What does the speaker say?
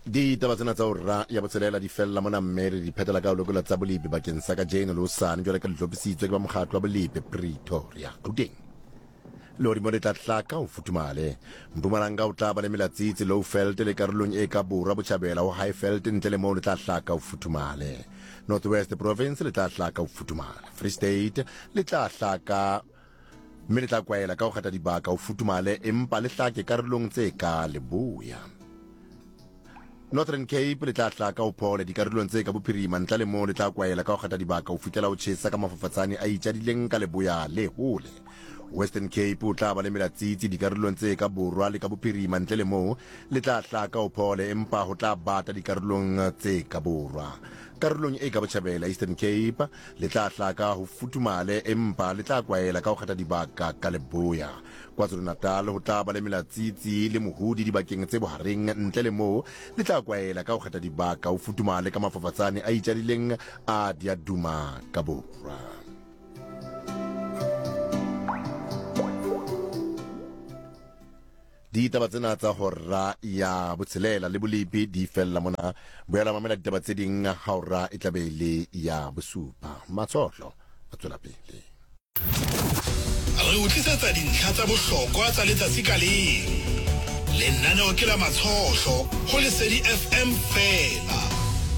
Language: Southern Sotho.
Ditaba tsena tsa hora ya botshelela di fella mona mme re di phetela ka ho lekola tsa bolepi bakeng sa kajeno le hosane jwale ka di hlophisitswe ke ba mokgatlo wa bolepi Pretoria. Gauteng. Lehodimo le tla hlaka ho futhumale. Mpumalanga o tla ba le melatsitsi Lowveld le karolong e ka borwa botjhabela ho Highveld ntle le moo le tla hlaka ho futhumale. North West Province le tla hlaka ho futhumala. Free State le tla hlaka mme le tla kwaela ka ho kgetha dibaka ho futhumale empa le hlake karolong tse ka leboya. Northern Cape le tla hlaka ho phole dikarolong tse ka bophirima ntla le moo le tla kwaela ka ho kgetha dibaka ho fihlela ho tjhesa ka mafafatsane a itjadileng ka leboya le hole. Western Cape o tla ba le melatsitsi dikarolong tse ka borwa le ka bophirima ntle le moo le tla hlaka ho phole empa ho tla bata dikarolong tse ka borwa. Karolong e ka botjhabela Eastern Cape Le tla hlaka ho futhumale, empa le tla kwaela ka ho kgetha dibaka ka leboya. KwaZulu-Natal ho tla ba le melatsitsi le mohudi dibakeng tse bohareng, ntle le moo le tla kwaela ka ho kgetha dibaka ho futhumale ka mafafatsane a itjadileng a diaduma ka borwa. Ditaba tsena tsa hora ya botshelela le bolepi di fella mona. Boela mamela ditaba tse ding ha hora e tla be e le ya bosupa. Matshohlo a tswela pele. Re o tlisetsa dintlha tsa bohlokwa tsa letsatsi ka leng. Lenaneo ke la Matshohlo ho Lesedi FM feela.